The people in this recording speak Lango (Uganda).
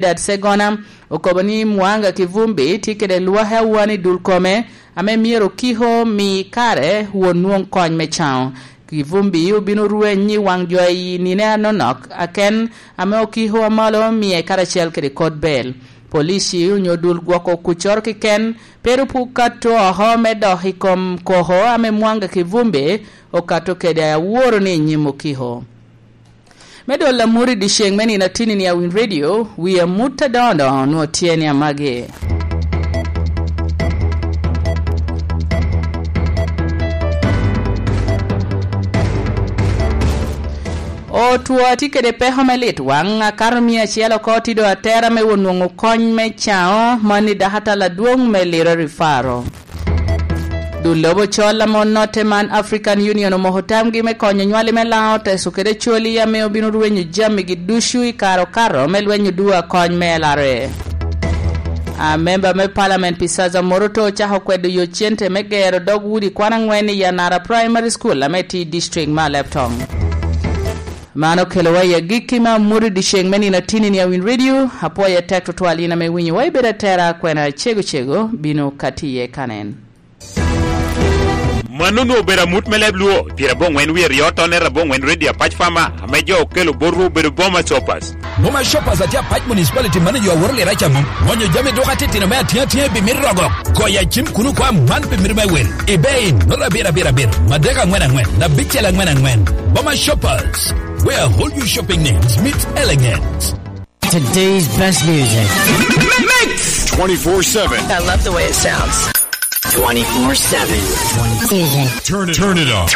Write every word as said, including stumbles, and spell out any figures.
Trinidad Segona okobo ni Mwanga Kivumbi tye kede lwaki awani i dul kome, ame myero okiko mi kare won nwoŋ kony me caŋo. Kivumbi obino rweny i waŋ jo i nine anonok, aken ame okiko amalo mie karacel kede kot bel. Polici onyo dul gwoko kuccoro keken pe ru puk kato oko me dok i kom koko ame Mwanga Kivumbi okato kede aworo ni i nyim okiko. Me dolo amut i dyeceŋ me nino atinni ni a Win Radio, wi amut adoŋo doŋo nwoŋo tye ni amagi. Otwo atye kede peko me lit waŋ, akato mia acel oko tye doŋ atera me won nwoŋo kony me caŋo, mano i dakatal adwoŋ me Lira Rifaro. Dul lobo col ame onotte man African Union omoko tamgi me konyo nywali me Laŋo, Teso kede Acholi ame obino rwenyo jamigi ducu i kare okato me lweny oduwa kony me L R A. A memba me Parliament pi Saza Moroto ocako kwedo yo cente me gero dog udi kwan angwen i Yanara Primary School ame tye i district me Alebtong. Man okelowa i agikki me amut i dyeceŋ me nino atinni ni a Win Radio. Apwoyo atek tutwal in ame iwinyowa, ibedo atera, kwena cego cego bino ka tye iye kanen. Mano onwoŋo obedo amut me leb Luo, pyerabongwen wie ryo tonne rabongwen Radio Apac Farmer, ame jo okelo botwu obedo Boma Shoppers. Boma Shoppers atye Apac Municipality, mano jo aworo lira ca mom. Mwonyo jami duka titino me atiŋa atiŋa i bimit rogo. Goyo acim kun okwa man pi mito me wel. I bei, nota abiro abiro abiro, madek angwen angwen, abicel angwen angwen. Boma Shoppers, where all your shopping needs meet elegance. Today's best music. Mix twenty-four seven. I love the way it sounds. Twenty-four seven. Turn it, turn it up.